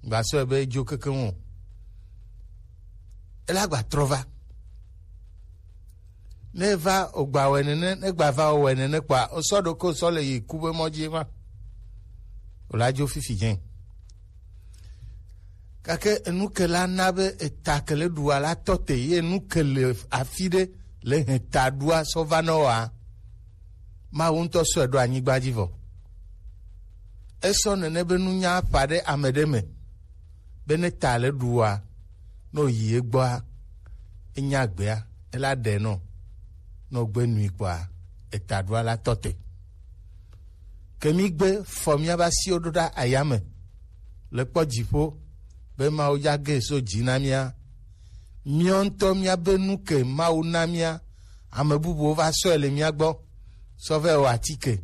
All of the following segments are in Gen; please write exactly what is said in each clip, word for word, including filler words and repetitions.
Gba sɔe be edzo kekeŋ o. Ela gba trɔ va. Ne va o gba wɛ nene, ne gba va o wɛ nene kpa, o sɔ ɖo ko sɔ le yi ku be mɔ dzi ma. O la dzo fifi dze. Gake enu ke la na be eta ke le ɖu wa la tɔ te, ye enu ke le afi ɖe le hɛn ta ɖua sɔ va nɔ wa. Mawu ŋutɔ sɔe ɖo anyigba dzi vɔ. Esɔ nene be nunya ƒã ɖe ame ɖe me, be ne ta le ɖu wa, ne o yi egbɔa, enya gbea, ela ɖe nɔ, ne o gbe nui kpɔa, eta ɖua la tɔ te. Ke mi gbe fɔ miaba siwo ɖo ɖa ayame, le kpɔ dziƒo, be Mawu dza ge so dzi na mia. Miɔ ŋutɔ miabe nu ke Mawu na mia, ame bubuwo va sɔe le mia gbɔ, sɔ vɛ wɔ atike.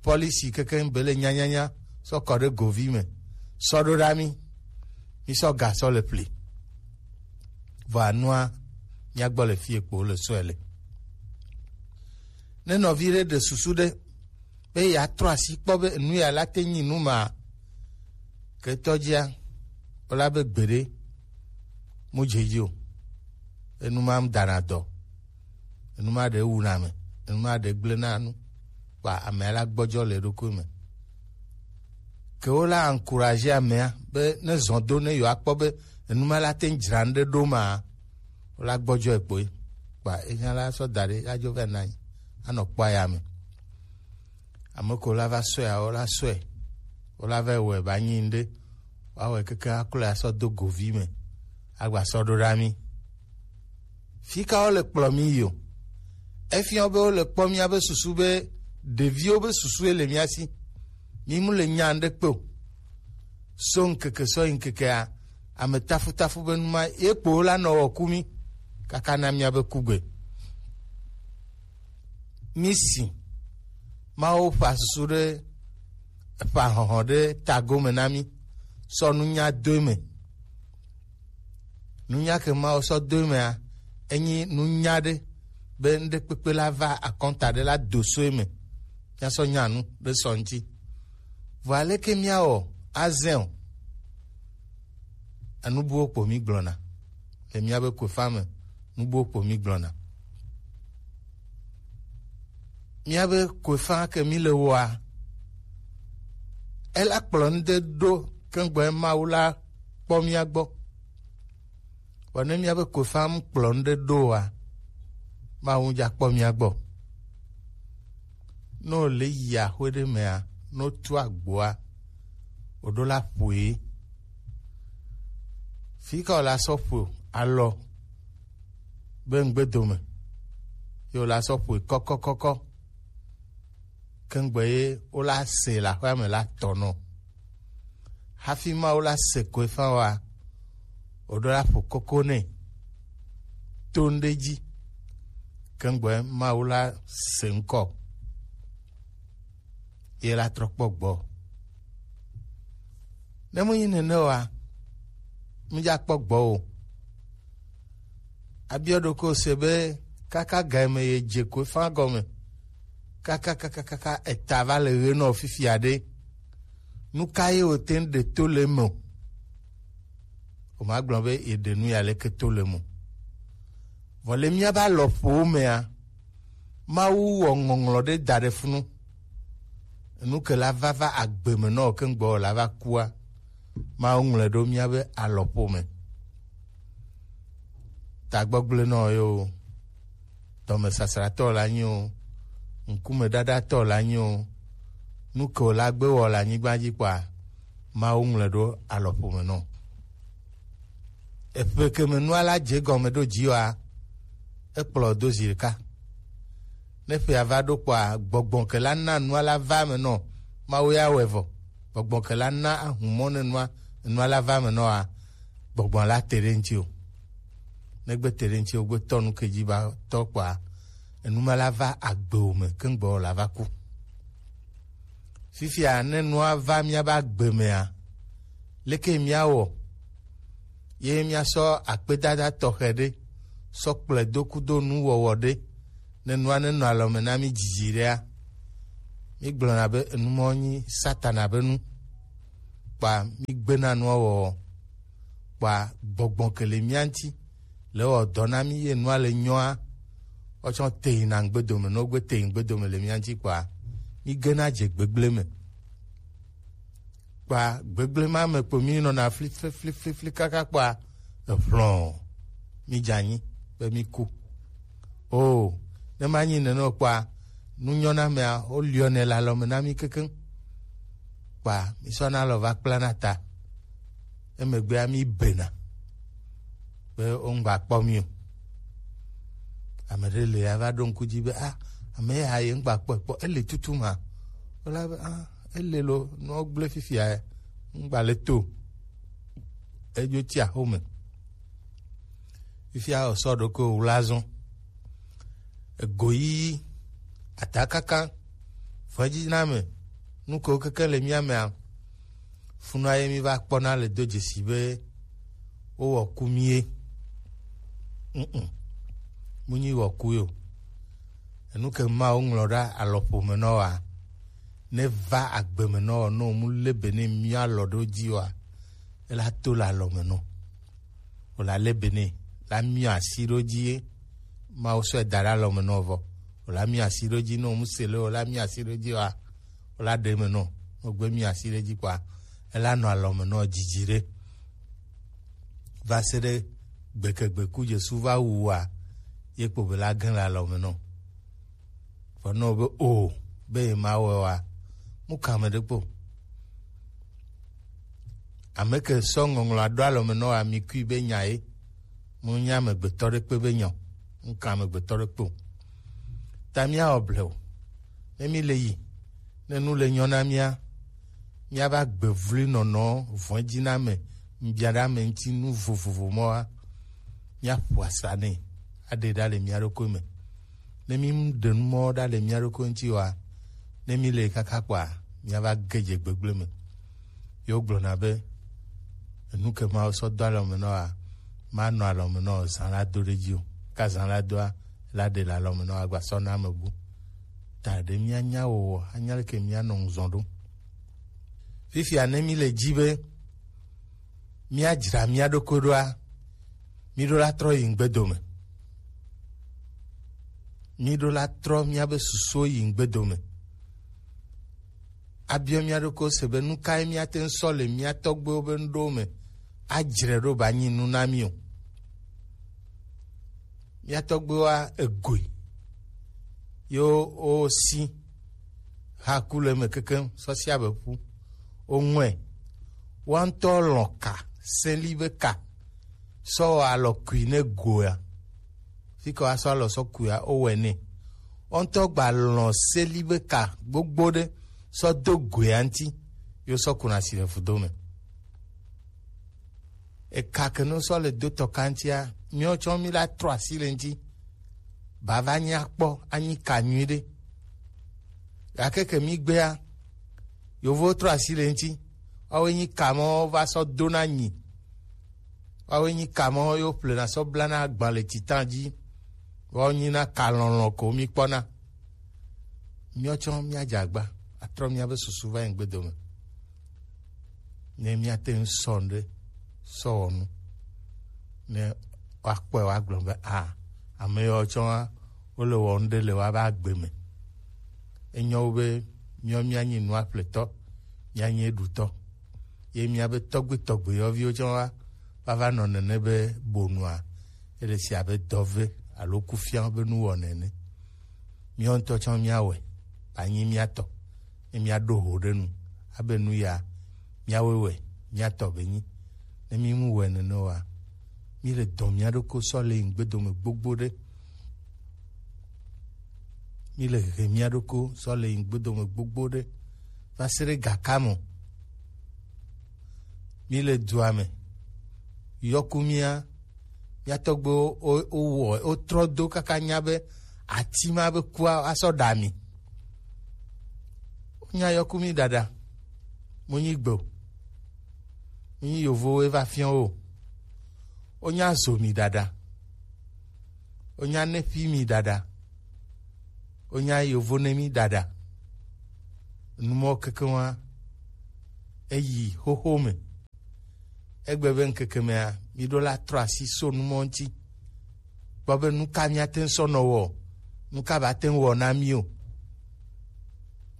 Pɔlisi kekeŋ be le nyanyanya, sɔ kɔ ɖe govi me, sɔ ɖo ɖa mi, mi sɔ ga sɔ le pli. Vɔ anua, mia gbɔ le fie kpo le sɔe le. Ne nɔvi ɖe ɖe susu ɖe, be yeatrɔ asi kpɔ be enu ya la te nyi nu ma, ketɔ dzia, wòla be gbeɖe mu dze dzi o. Enu ma dana dɔ, enu ma ɖe wuna ame, enu ma ɖe gblẽ na nu, kpa amea la gbɔdzɔ le eɖokui me. Ke wola encourager amea be ne zɔn do ne yewoakpɔ be enu ma la te dzra nu ɖe ɖo ma, wola gbɔdzɔe kpoe. Kpa enya la sɔ da ɖe, adzo vɛ na anyi, anɔ kpɔ aya me. Ame ko la va sɔe, awo la sɔe, wo la va wɔe ba nyi ŋɖe, woawɔe keke aklɔe asɔ do govi me, agba sɔ ɖo ɖa mi. Fi ka wo le kplɔ mi yi o? Efiɔ be wo le kpɔ mia be susu be ɖeviwo be susu le mia si. Mi mu le nya ŋɖe kpe o. So ŋkeke sɔ yi ŋkekea, ame tafutafu be nu ma ye kpo la nɔ wɔ ku mi kaka na mia be kugbe. Mi si Mawu ƒa susu ɖe, ƒa hɔhɔ ɖe tago me na mi, sɔ nunya do eme. Nunya ke Mawu sɔ do emea, enyi nunya ɖe be ŋɖekpekpe la va akɔnta ɖe la do so eme. Mia sɔ nya nu ɖe sɔ ŋuti. Vɔ aleke miawɔ azɛ o? Enu buwo kpo mi gblɔna le miabe koefa me. Nu buwo kpo mi gblɔna. Miabe koefa ke mi le wɔa, ela kplɔ nu ɖe ɖo keŋgbɔ Mawu la kpɔ mia gbɔ. Vɔ ne miabe koefa mu kplɔ nu ɖe ɖo oa, Mawu dza kpɔ mia gbɔ. Ne wòle yi axwe ɖe mea, ne wotu agboa, wòɖo la ƒoe. Fi ka wòla sɔ ƒo alɔ be ŋgbedome, ye wòla sɔ ƒoe kɔkɔkɔkɔ. Keŋgbe ye wola se le aƒea me la tɔ nɔ. Hafi Mawu la se koe fã wa, wòɖo la ƒo koko nɛ to ŋɖe dzi. Keŋgbe Mawu la se ŋkɔ, ye la trɔ kpɔ gbɔ. Ne menyi nene oa, medza kpɔ gbɔ o. Abiɔ ɖokui se be kaka ga me ye dze koe fã gɔme, kaka kaka kaka eta va le ɣe nɔ fifia ɖe, nu ka ye wòte ŋu ɖe to le eme o? Womagblɔ be yeɖe nu ya leke to le eme o. Vɔ le míabe alɔƒowo mea, Mawu wɔ ŋɔŋlɔ ɖe da ɖe funu. Enu ke la va va agbe me nɔ keŋgbɔ la va kua, Mawu ŋlɔe ɖo míabe alɔƒo me. Tagbɔgblẽnɔ ye o, dɔmesasratɔ la nyi o, ŋkumeɖaɖatɔ la nyi o, nu ke wòla gbe wɔ le anyigba dzi kpɔa, Mawu ŋlɔe ɖo alɔƒo me nɔ. Eƒe ke me nua la dze gɔme ɖo dzi oa, ekplɔ do zi ɖeka. Ne ƒea va ɖo kpɔa, gbɔgbɔ ke la na nua la va me nɔ, Mawu ya wɔe vɔ. Gbɔgbɔ ke la na ahumɔ ne nua, nua la va me nɔa, gbɔgbɔ la te ɖe ŋuti o. Ne gbe te ɖe ŋuti o, gbe tɔ nu ke dzi ba tɔ kpɔa, enu ma la va agbe o me, keŋgbɔ la va ku. Fifia, ne nua va míabe agbe mea, leke míawɔ? Ye míasɔ akpedada tɔxɛ ɖe sɔ kplɔe do kudo nuwɔwɔ ɖe, ne nua nenɔ alɔme na mí dzidzi ɖea, mígblɔna be enumɔ nyi Satana be nu. kpa mi gbena nua wɔwɔ, kpa gbɔgbɔ ke le mia ŋti le wɔ dɔ na mi ye nua le nyɔa, wotsɔ teyi na ŋgbedome, ne wogbe teyi ŋgbedome le mia ŋti kpa mi gena dze gbegble me. Kpa gbegble ma me kpo mi nɔna fli fli fli fli fli kaka kpa eʋlɔ mi dze anyi be mi ku. O, ne ma nyi nene o kpa nu nyɔ na mea, wo liɔ nɛ le alɔme na mi kekeŋ. Kpa mi sɔ na alɔ va kpla na ta. Emegbea mi bena be wo ŋgba kpɔ mi o. Ame ɖe le ya va ɖo ŋku dzi be, ah, ame ya ye ŋgba kpɔ kpɔ, ele tutu ma. Wola be, ah, ele lo, nua gble fifia, ŋgba le to. Edzo tsi axome. Fifia wòsɔ ɖokui wòwla zɔ. Egoyiyi, atakaka, vɔ̃dziname, nu kewo keke le mía mea, funua ye mí va kpɔna le do dzesi be wowɔ ku mí ye. Mm-mm. Mu nyi wɔ ku yo. Enu ke Mawu ŋlɔ ɖa alɔƒo me nɔ wa, ne va agbe me nɔ, ne wo mu le be ne mía alɔ ɖo dzi wa, ela to le alɔ me nɔ. Wòla lé be nɛ, la miɔ asi ɖo dzi ye, Mawu sɔe da ɖe alɔme nɔ vɔ. Wòla miɔ asi ɖo dzi, ne wòmu se le, wòla miɔ asi ɖo dzi wa, wòla ɖe me nɔ, ne wògbe miɔ asi ɖe dzi kpɔa, ela nɔ alɔme nɔ dzidzi ɖe. Va se ɖe gbekegbe ku Jesu va wu wa, ye kpo be la gẽ le alɔme nɔ. Vɔ nɔ be o, be ye ma wɔ wa, mu kame ɖe kpo. Ame ke sɔ ŋɔŋlɔ aɖo alɔme nɔ wa mi kui be nya ye. Mu nya amegbetɔ ɖe kpe be nya o. Mu ka amegbetɔ ɖe kpe o. Ta mía wɔ ble o. Ne mi le yi, ne nu le nyɔ na mía, mía va gbe vli nɔnɔ vɔ̃ dzi na ame, ŋbia ɖe ame ŋuti nu vovovo mɔ wa, mía ƒo asa nɛ, aɖe ɖa le mía ɖokui me. Ne mi ɖe nu mɔ ɖa le mía ɖokui ŋuti wa, ne mi le kaka kpɔa, mía va ge dze gbegble me. Ye wogblɔna be, enu ke Mawu sɔ do alɔme nɔ wa, manɔ alɔme nɔ zã la do ɖe dzi o. Ka zã la doa, la ɖe le alɔme nɔ wa gba sɔ na ame bu. Ta ɖe mía nya wowɔ, anya leke mía nɔ ŋzɔn ɖo. Fifia ne mi le dzi be mía dzra mía ɖokui ɖoa, mi ɖo la trɔ yi ŋgbedome. Mi ɖo la trɔ mía be susuwo yi ŋgbedome. Abiɔ mía ɖokui se be nu kae mía te ŋu sɔ le mía tɔgbuiwo be nuɖowo me adzre ɖo ba nyi nu na mi o. Mía tɔgbuiwoa egoe. Yo wo si ha ku le eme kekeŋ sɔ si abe ƒu. Wo ŋɔe. Woa ŋutɔ lɔ̃ ka, seli be ka, sɔ wɔ alɔ kui ne goea. Fi ke woasɔ alɔ sɔ kuia, wowɔe nɛ. Wo ŋutɔ gba lɔ̃ seli be ka gbogbo ɖe sɔ do goea ŋuti, yo sɔ kuna si le vudo me. Eka ke no sɔ le do tɔ kantia, miɔ tsɔ mi la trɔ asi le ŋuti. Bava nya kpɔ, anyi ka nyui ɖe. Gake ke mi gbea, yovo trɔ asi le ŋuti. Woawoe nyi ka mɔ va sɔ do na nyi. Woawoe nyi ka mɔ yo ƒle na sɔ bla na agba le titan dzi. Woawo nyi na ka lɔlɔ ko mi kpɔna. Miɔ tsɔ mia dze agba, atrɔ mia be susu va yi ŋgbedome. Ne míate ŋu sɔ nu ɖe, sɔ wɔ nu. Ne woakpɔe woagblɔ be, a, ame yawo tsɔ wa, wole wɔ nu ɖe le woabe agbe me. Enyo wu be míawo míanyi nua ƒletɔ, míanyi eɖutɔ. Ye míabe tɔgbe tɔgbe yɔviwo tsɔ wa, va va nɔ nene be bonua, ele si abe dɔve alo kufia be nuwɔna ene. Míawo ŋutɔ tsɔ míawɔe, anyi mía tɔ. Ne míaɖo ho ɖe nu, abe nu ya, míawoe wɛ, mía tɔ be nyi. Ne mí mu wɛ nene oa, mí le dɔn mía ɖokui sɔ le yi ŋgbedome gbogbo ɖe. Mí le hehe mía ɖokui sɔ le yi ŋgbedome gbogbo ɖe. Va se ɖe gaka me. Mí le dua me. Yɔku mía, mía tɔgbuiwo wo, wo, wowɔ, wotrɔ do kaka nya be ati ma be kua asɔ ɖa mi. Wonya yɔku mi ɖaɖa. Mu nyi gbe o. Mu nyi yovowoe va fiɔ wo. Wonya zo mi ɖaɖa. Wonya nefi mi ɖaɖa. Wonya yovo ne mi ɖaɖa. Numɔ kekeŋ wa. Eyi xoxo me. Egbe be ŋkeke mea, mi ɖo la trɔ asi so numɔ ŋuti. Kpɔ be nu ka míate ŋu sɔ nɔ wɔ, nu ka ba te ŋu wɔ na mí o.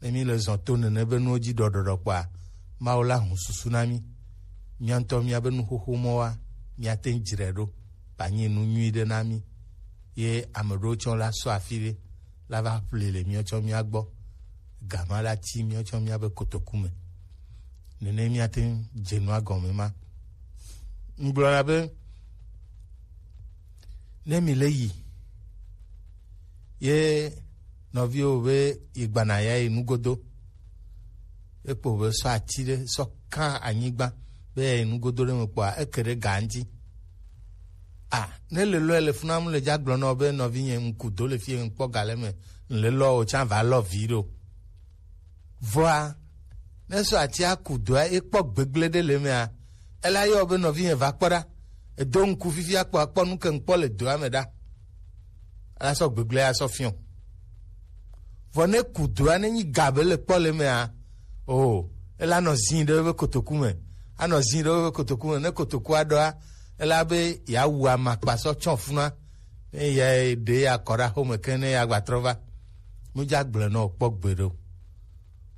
Ne mi le zɔn to nene be nuwo dzi ɖɔɖɔɖɔ kpɔa, Mawu la hu susu na mí. Mía ŋutɔ míabe nuxoxo mɔ wa, míate ŋu dzrae ɖo, ba nyi nu nyui ɖe na mí. Ye ame ɖewo tsɔ la sɔ afi ɖe, la va ƒle le míawo tsɔ mía gbɔ. Gama la ti míawo tsɔ míabe kotoku me. Nene míate ŋu dze nua gɔme ma. Ŋgblɔna be, ne mi le yi, ye nɔviwo be yi gbana ya yi nugodo, ekpo be sɔ ati ɖe sɔ kan anyigba be ya yi nugodo ɖe me kpɔa, eke ɖe ga ŋuti. A, ne le lɔ le funa mu le dza gblɔ nɔ be nɔvi nye ŋku do le fi ŋkpɔ ga le me, le lɔ o tsa va lɔ vi ɖo. Vɔa, ne sɔ atia ku doa, ekpɔ gbegblẽ ɖe le emea, ela yɔ be nɔvinye va kpɔ ɖa. Edo ŋku fifi akpɔ, akpɔ nu ke ŋkpɔ le doa me ɖa. Ela sɔ gbegblẽ asɔ fiɔ. Vɔ ne ku doa, ne nyi ga be le kpɔ le emea, o, ela nɔ zin ɖe eƒe kotoku me. Anɔ zin ɖe eƒe kotoku me. Ne kotoku aɖɔa, ela be yeawu amakpa sɔ tsɔ funua. Ne ya ɖe ya kɔ ɖe axome ke ne ya gba trɔ va. Mudza gblẽ nɔ kpɔ gbe ɖo.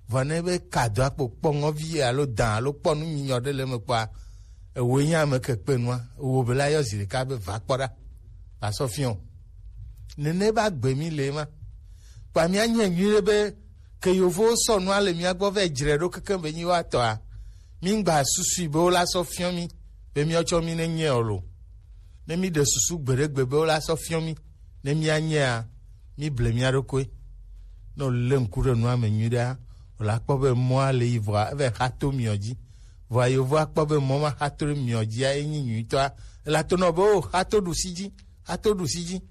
Vɔ ne be ka do akpo kpɔ ŋɔvi alo dã alo kpɔ nu nyinyɔ ɖe le eme kpɔa, ewoe nye ame ke kpe nua, ewo be la yɔ zi ɖeka be va kpɔ ɖa, va sɔ fiɔ. Nene ba gbe mi le ma. Kpa mía nye nyuie be ke yovowo sɔ nua le mía gbɔ vɛ dzre ɖo keke be nyi wa tɔa, mi ŋgba susui be wo la sɔ fiɔ mi be mía tsɔ mi ne nye o lo. Ne mi ɖe susu gbeɖegbe be wo la sɔ fiɔ mi, ne mía nyea, mi ble mía ɖokoe. Ne wòlé ŋku ɖe nua me nyuiɖea, wòla kpɔ be mɔa le yi vɔa, eva xa to miɔ dzi. Vɔa yovoa kpɔ be mɔ ma xa to ɖe miɔ dzia, enyi nyuitɔa. Ela to nɔ be, o, xa to ɖusi dzi, xa to ɖusi dzi.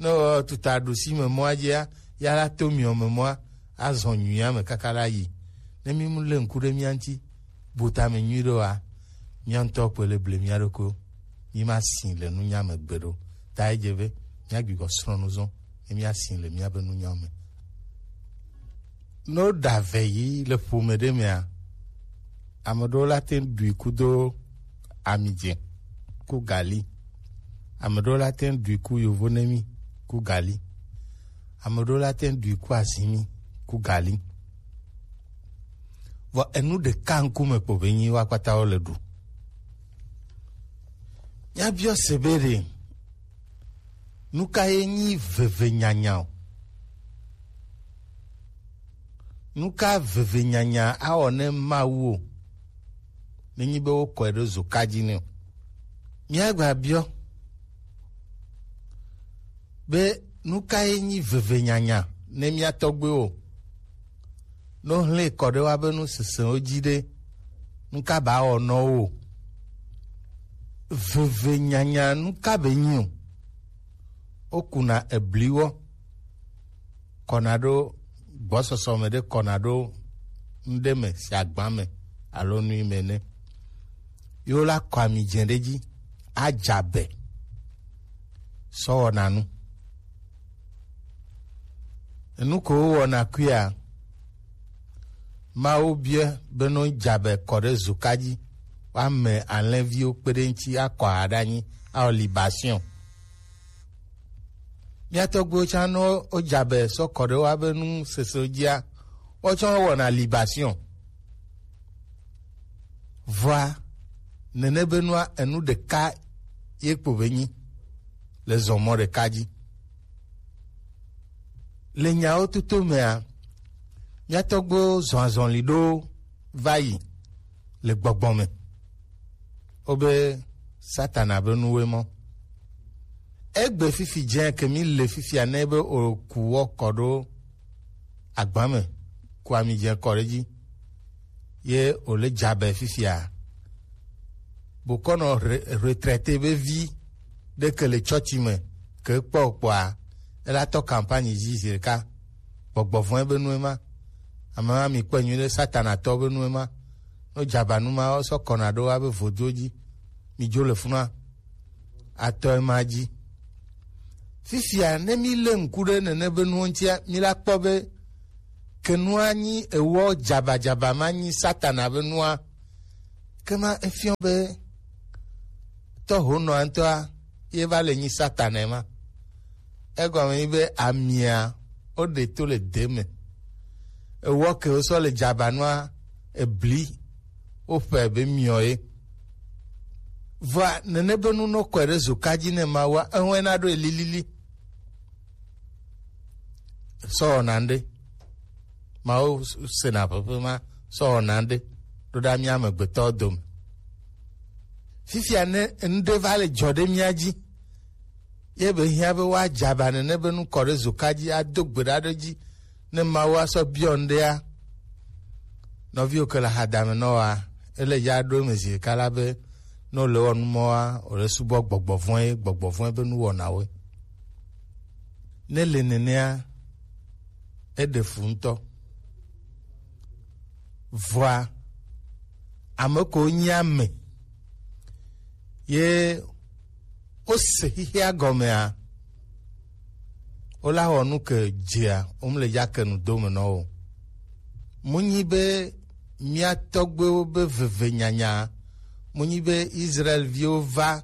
Ne wò tuta ɖusi me mɔa dzia, ya la to miɔ me mɔa, azɔ nyuia me kaka la yi. Ne mi mu lé ŋku ɖe mía ŋuti, bu tame nyuiɖe oa, mía ŋutɔ kpoe le ble mía ɖokuiwo. Mi ma si le nunya me gbeɖe o. Ta edze be mía gbigbɔ srɔ̃ nu zɔn, ne mía si le míabe nunyawo me. Ne woɖa ve yi le ƒome ɖe mea, ame ɖewo la te ŋu ɖui kudo ami dze ku gali. Ame ɖewo la te ŋu ɖui ku yovo nemi ku gali. Ame ɖewo la te ŋu ɖui ku azimi ku gali. Vɔ enu ɖeka ŋkume kpo be nyi wo akpata wo le ɖu. Míabiɔ se be ɖe, nu ka ye nyi veve nyanya o? Nu ka veve nyanya awɔ ne Mawu o? Nenyi be wokɔe ɖo zoka dzi nɛ o. Míagba biɔ be nu ka ye nyi veve nyanya ne mía tɔgbuiwo? Ne wohlẽ kɔ ɖe woabe nu sesẽwo dzi ɖe, nu ka ba wɔ nɔ wo? Veve nyanya nu ka be nyi o? Wokuna ebliwɔ kɔna ɖo gbɔsɔsɔ me ɖe kɔna ɖo ŋɖe me si agba me alo nui me ne. Ye wola kɔ ami dze ɖe dzi, adza be sɔ wɔna nu. Enu ko wowɔna kuia, Mawu biɛ be no dza be kɔ ɖe zoka dzi, woame alẽviwo kpe ɖe ŋuti akɔ aha ɖe anyi, awɔ libation. Mía tɔgbuiwo tsã ne wodza be sɔ kɔ ɖe woabe nu sese dzia, wotsɔ wɔna libation. Vɔa, nene be nua enu ɖeka ye kpo be nyi le zɔmɔ ɖeka dzi. Le nyawo toto mea, mía tɔgbuiwo zɔ azɔli ɖo va yi le gbɔgbɔ me. Wobe Satana be nuwoe mɔ. Egbe fifi dze ke mi le fifia ne be oku wɔ kɔ ɖo agba me, ku ami dze kɔ ɖe dzi, ye wòle dzabe fifia. Bokɔnɔ re-, retraité be vi ɖe ke le tsɔtsi me ke kpɔ kpɔa, ela tɔ campagne dzi zi ɖeka. Gbɔgbɔ vɔ̃e be nue ma. Ame ma mi kpɔe nyuie ɖe, Satana tɔ be nue ma. No dzabanu ma wo sɔ kɔna ɖo wa be vodo dzi. Mi dzo le funua. Atɔe ma dzi. Fifia, ne mi le ŋku ɖe nene be nuwo ŋutia, mi la kpɔ be ke nua nyi ewɔ dzabadzaba ma nyi Satana be nua, Ke ma efiɔ be tɔhonɔa ŋutɔa ye va le nyi Satana ma. Egɔme nyi be amia woɖe to le de me. Ewɔ ke wosɔ le dzabanua ebli woƒe be miɔ ye. Vɔa nene be nu nɔ kɔe ɖe zoka dzi ne Mawua, eŋɔe na ɖo elilili. Sɔ wɔna ŋɖe. Mawu sena ƒeƒe ma sɔ wɔna ŋɖe ɖo ɖa mía amegbetɔwo dome. Fifia ne ŋɖe va le dzɔ ɖe mía dzi, ye be hiã be woadze aba nene be nu kɔ ɖe zoka dzi ado gbe ɖa ɖe dzi ne Mawu asɔ biɔ ŋɖea. Nɔviwo ke le hadame nɔ wa, ele ya ɖo eme zi ɖeka la be ne wòle wɔ nu mɔa, wòle subɔ gbɔgbɔ vɔ̃e, gbɔgbɔ vɔ̃e be nuwɔnawoe. Ne le nenea, eɖe fu ŋutɔ. Vɔa, ame ko nyi ame ye wose xexea gɔmea, wola wɔ nu ke dzea, womle ya ke nu dome nɔ o. Munyi be mía tɔgbuiwo be veve nyanya, munyi be Israel viwo va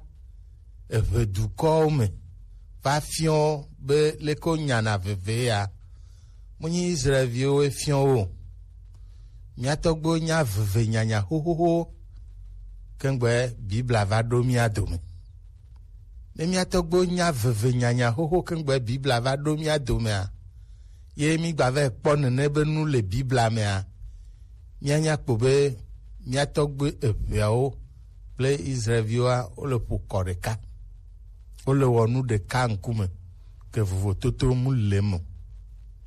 eʋe dukɔwo me va fiɔ be leke wonyana veve ya. Menye Israel viwo fiɔ wo o. Mía tɔgbuiwo nya veve nyanya xoxoxo kengbe Biblia va ɖo mía dome. Ne mía tɔgbuiwo nya veve nyanya xoxo kengbe Biblia va ɖo mía domea, ye mí gba va kpɔ nene be nu le Biblia mea, míanya kpɔ be mía tɔgbui eveawo kple Israelviwoa, wole ƒo kɔ ɖeka. Wole wɔ nu ɖeka ŋkume, ke vovototo mu le eme o.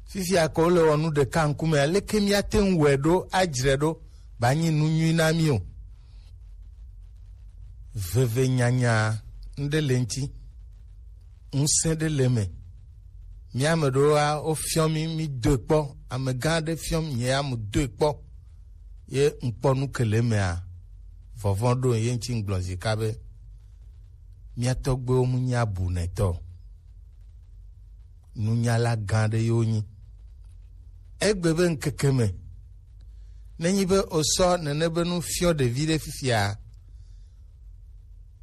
Fifia ke wole wɔ nu ɖeka ŋkume, aleke míate ŋu wɔe ɖo, adzre ɖo, ba nyi nu nyui na mí o? Veve nyanya ŋɖe le ŋti, ŋusẽ ɖe le eme. Mía ame ɖewoa, wofiɔ mí, mí doe kpɔ. Amegã aɖe fiɔ mí, nye ya mu doe kpɔ. Ye ŋkpɔ nu ke le emea, vɔvɔ̃ ɖo ye ŋti ŋgblɔ zika be, mía tɔgbuiwo mu nyi abunɛtɔ o. Nunyala gã aɖe ye wonyi. Egbe be ŋkeke me, nenyi be wosɔ nene be nu fiɔ ɖevi ɖe fifia,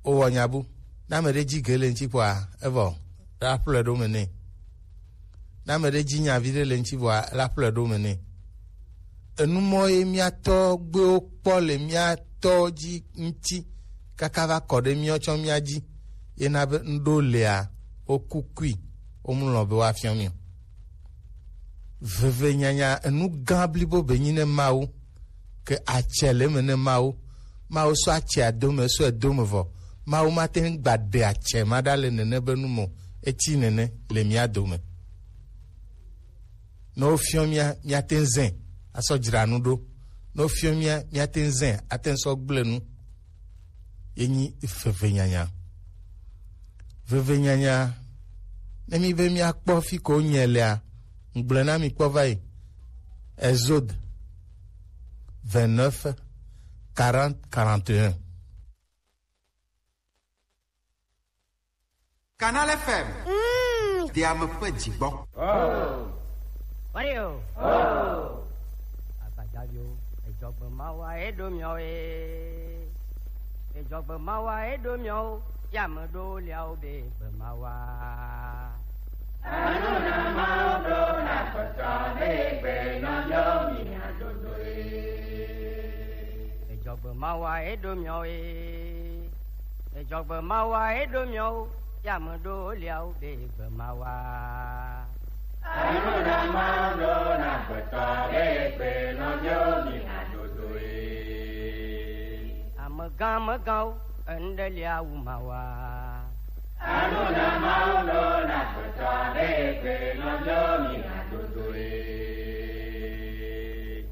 wowɔ nya bu. Ne ame ɖe dzi ge le ŋti kpɔa, evɔ, la ƒlɔe ɖo me nɛ. Ne ame ɖe dzi nya vi ɖe le ŋti vɔa, la ƒlɔe ɖo me nɛ. Enu mɔ ye mía tɔgbuiwo kpɔ le mía tɔwo dzi ŋti kaka va kɔ ɖe míawo tsɔ mía dzi. Ye na be ŋɖo lea, woku kui, womlɔ be woafiɔ mí o. Veve nyanya enu gã blibo be nyi ne Mawu, ke atsɛ le eme ne Mawu. Mawu sɔ atsɛa do me, sɔe do me vɔ. Mawu mate ŋu gba ɖe atsɛ ma ɖa le nene be nu me o. Eti nene le mía dome. Ne wofiɔ mía, míate ŋu zẽ asɔ dzra nu ɖo. Ne wofiɔ mía, míate ŋu zẽ ate ŋu sɔ gblẽ nu. Ye nyi veve nyanya. Veve nyanya, ne mí be míakpɔ fi ko nye lea, ŋgblẽ na mí kpɔ va yi. Exode vingt-neuf, quarante, quarante et un. Canal F M. Mm. Diame ƒe dzigbɔ. Mario. Agbadzaviwo, edzɔgbe mawa eɖo miawo ye. Edzɔgbe mawa eɖo miawo, ya me ɖo liawo be gbe mawa. Anu na mawo ɖo na kpɔtɔ be gbe nɔ miawo mi adodo ye. Edzɔgbe mawa eɖo miawo ye. Edzɔgbe mawa eɖo miawo, ya me ɖo liawo be gbe mawa. Anu na mawo ɖo na kpɔtɔ be gbe nɔ miawo mi adodo ye. Amegã megãwo, eŋɖe lia wu mawa. Anu na mawo ɖo na kpɔtɔ be gbe nɔ miawo